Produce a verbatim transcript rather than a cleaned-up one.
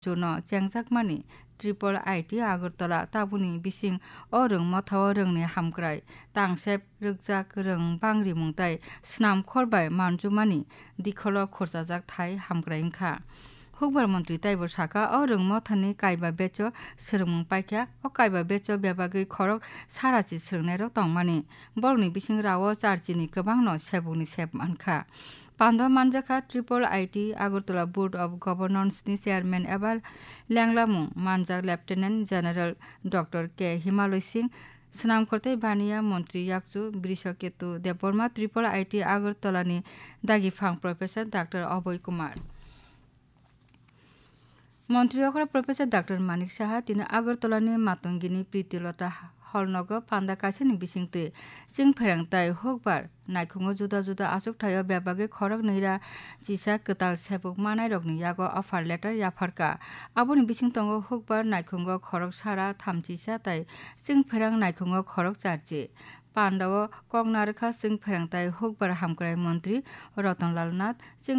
chuno chengjakmani Triple I T Agartala tabukni bising o rwng mothao rwngni hamkrai tangsep rwkjak rwng bangrimung tai swnamkhor bai manjumani dikholo khurchajak thai hamkrai wngkha. Hukbar montri taibo saka, o rwng mothani kaiba becho swrwngmung paikha, o kaiba becho bebagwi khorok sarachi swrwngnairok tongmani. Borokni bising rao charchini kwbangno sebukni sep mankha. Pando manjakha Triple I T Agartala Board of Governance ni chairman eba lenglamung manjak Lieutenant General Doctor K Himaloi Singh, swnamkhor tei baniya montri yakchu Brishaketu Debbarma, Triple I T Agartala ni dagiphang Professor Doctor Abhay Kumar. Montri okra Professor Doctor Manik Saha tini Agartala ni Matongini Pritilota Hall nogo panda kaisani bisingtwi chwngpherang tai hukbar naikhungo juda juda achukthai o bebagwi khorok nwi ra chisa kwtal sebuk manairokni yago offer letter yapharkha. Aboni bising tongo hukbar naikhungo khorok sara thamchisa tai chwngpherang naikhungo khorok charchi. Pandao kok narwkha chwngpherang tai hukbar hamkrai montri Ratan Lal Nath, chwng